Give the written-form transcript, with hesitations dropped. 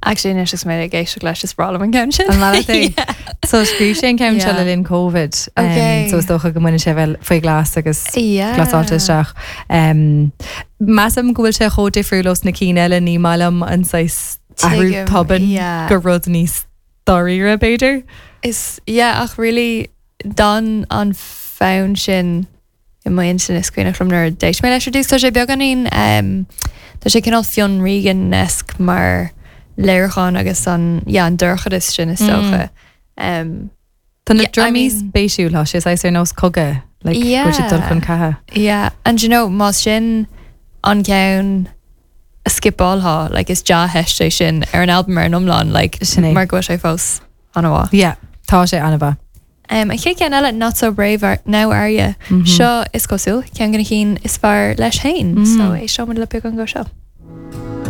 Actually anois is mé ag éisteacht leis is breá liom an ceann sin. An maith leat é? So scríobh sé an ceann seo le linn Covid. Okay. So is dócha go mbaineann sé bheith faoi ghlas agus Yeah. glasáilte isteach. Um, measaim go bhfuil sé chomh difriúil ós na cinn eile ní maith liom an saghas athrú Tuigim, tobann yeah. go rud níos dáiríre b'fhéidir. Is yeah ach really d'fhan an fonn sin i m'intinn is cuimhneach liom nuair a d'éist mé leis ar dtús. Tá sé beagáinín, tá sé cineál Fionn Regan-esque mar léiriúchán agus an, yeah, an dorchadas sin is dócha. Tá na drumaí spéisiúil, tá sé saghas ar nós cogadh, like go bhfuil siad dul chun catha. Yeah, and you know, más sin an ceann a skipálfá, like is dea-theist é sin ar an albam ar an iomlán, like mar go bhfuil sé fós an-mhaith. Yeah, tá sé an-mhaith. An chéad cheann eile, Not So Brave Now Are Ya? Seo, is cosúil, ceann de na cinn is fearr leis féin. So éisteoimid le beagán de seo.